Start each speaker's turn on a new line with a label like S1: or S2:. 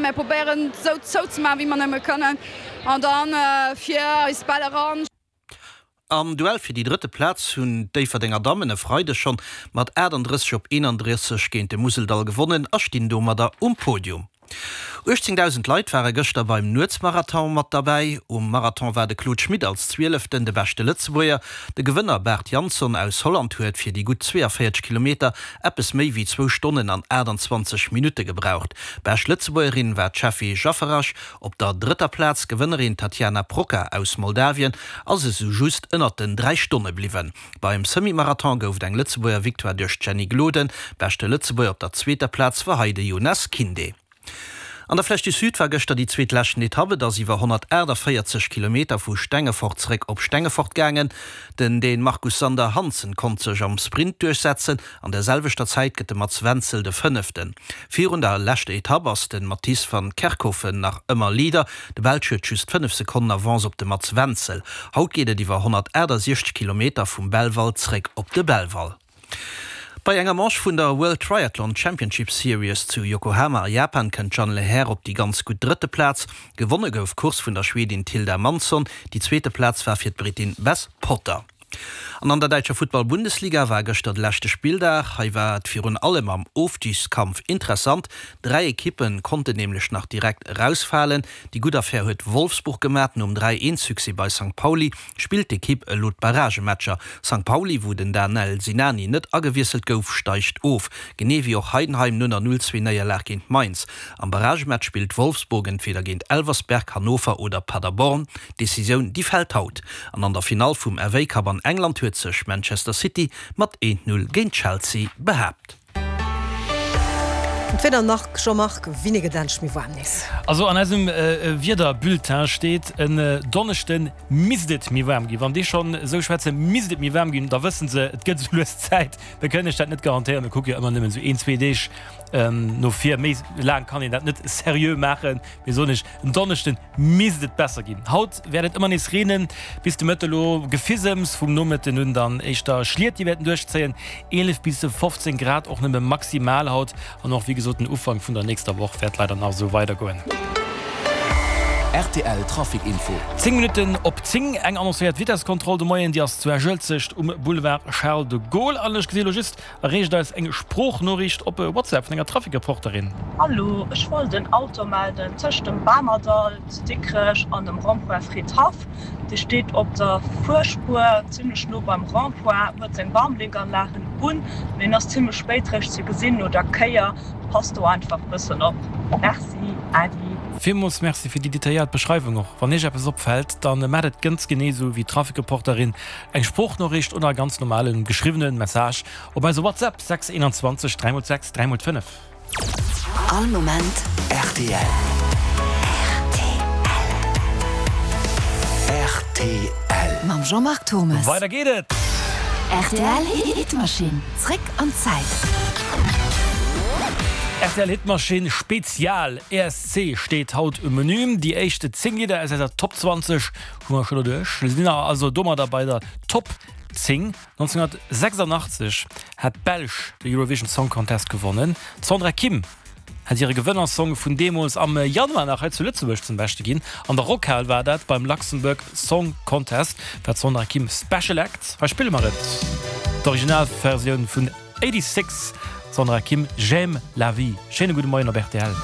S1: Mär probéieren esou zou ze maachen, wéi mer nëmme kënnen an dann fir eis Bäll eran.
S2: Am Duell fir déi drëtte Plaz hunn d'Déifferdenger Dammen e Freideg schonn mat 38 op 31 géint de Museldall gewonnen a stinn domadder um Podium. 18.000 Leit ware gëschter beim Nuetsmarathon mat derbäi. Um Marathon war de Claude Schmit als Zwieleften de beschte Lëtzebuerger. De Gewënner Bart Jansson aus Holland huet fir déi gutt 42 Kilometer eppes méi wéi zwou Stonnen an 28 Minutte gebraucht. Bescht Lëtzebuergerin war d'Sheffi Jafferaj Op der drëtter Plaz, Gewënnerin Tatiana Proca aus Moldawien, ass esou just ënnert den 3 Stonne bliwwen. Beim Semi-Marathon gouf et eng Lëtzebuerger Victoire duerch d'Jenny Gloden. Beschte Lëtzebuerger op der zweeter Plaz war hei de Jonas Kinde. An der Flèche du Sud war gëschter déi zweet leschten Etapp. Et ass iwwer 148 Kilometer vu Stengefort zeréck op Stengefort gaangen. Den Dän Markus Sander Hansen konnt sech am Sprint duerchsetzen. An der selwechter Zäit gëtt de Mats Wenzel de Fënneften. Virun der leschter Etapp ass de Matisse van Kerkhoven nach ëmmer Leader. De Belsch huet just 5 Sekonnen Avance op de Mats Wenzel. Haut geet et iwwer 168 Kilometer vum Belval zréck op de Belval. Bei enger Manche vun der World Triathlon Championship Series zu Yokohama a Japan kënnt d'Jeanne Lehair op déi ganz gutt drëtte Plaz. Gewonne gouf d'Course vun der Schwedin Tilda Mansson. Déi zweete Plaz war fir d'Britin Beth Potter. An an der däitscher Futtball-Bundesliga war gëschter de leschte Spilldag. Hei war et virun allem am Ofstigskampf interessant. 3 Ekippe konnten nämlech nach direkt erausfalen. Déi gutt Affär huet Wolfsburg gemat. Nom 3, 1 Succès bei Sankt Pauli spillt d'Ekipp elo d'Barragematcher. Sankt Pauli, wou den Danel Sinani net agewiesselt gouf, steigt of. Genee wéi och Heidenheim no der 0, 2 Néierlag géint Mainz. Am Barragematch spillt Wolfsburg entweder géint Elversberg, Hannover oder Paderborn. D'Decisioun, déi fält haut. An an der Finall vum FA Cup an England huet sech Manchester City mat 1, 0 géint Chelsea behaapt.
S3: D'Wieder nach, Jean-Marc Winné gëtt endlech méi waarm nees.
S4: Also an eisem Wiederbulletin steet, en Donneschde misst et méi waarm ginn. Wann déi schonn esou schwätzen, misst et méi waarm ginn, da wësse se, et gëtt esou lues Zäit. Mir kënnen iech dat net garantéieren, mir kucke jo ëmmer nëmmen esou een, zwee Deeg no vir. Méi laang kann een dat net seriö maachen. Mir soen iech, en Donneschden misst et besser ginn. Haut wäert et ëmmer nees reenen, bis de Mëtte lo Gefisems, vum Nomëtten un dann éischter Schliet, déi wäerten duerchzéien. 11 bis 15 Grad och nëmme maximal haut an och wéi gesot den Ufank vun der nächster Woch wäert leider nach esou weidergoen.
S5: Rtl Trafic Info.
S4: 10 Minutten op 10, eng annoncéiert Vitesskontroll de Moien, déi ass zu Esch-Uelzecht um Boulevard Charles de Gaulle an ech gesi lo just Erreecht eis eng Sproochnoriicht op WhatsApp vun enger Trafikreporterin.
S6: Hallo, ech wollt en Auto melden tëscht dem Bamerdall zu Dikrech an dem Rond-point Fridhaff. Dee steet op der Fuerspuer, zimlech no beim Rond-point, huet seng Warnblinkanlagen un, mee en ass zimlech spéit réischt ze gesinn no der Kéier. Passt do einfach bëssen op. Merci, Äddi.
S4: Villmools Merci fir déi detailléiert Beschreiwung. Och wann Iech eppes opfält, dann maacht et ganz genee esou wéi d'Trafikreporterin. Eng Sproochnoriicht oder e ganz normalen geschriwwenen Message op eise WhatsApp 6 21 3 x 6 3 x 5.
S5: All Moment rtl. Rtl.
S7: Mam Jean-Marc Thommes.
S4: Weider geet et!
S7: Rtl Hitmachine, zréck an d'Zäit.
S4: Rtl Hitmachine Spezial ESC steet haut um Menü. Déi éischt 10 Lidder aus eiser Top 20 Hu mer scho doduerch. Mir sinn also domadder bei der Top 10. 1986 hat d'Belsch de Eurovision Song Contest gewonnen. D'Sandra Kim hat hire Gewënnersong vun deemools am Januar nach hei zu Lëtzebuerg zum Beschte ginn. An der Rockhal war dat beim Luxembourg Song Contest war d'Sandra Kim Special Act. Hei spille mer et, d'Originalversioun vun 86, Sandra Kim, J'aime la vie. Schéine gudde Moien op rtl.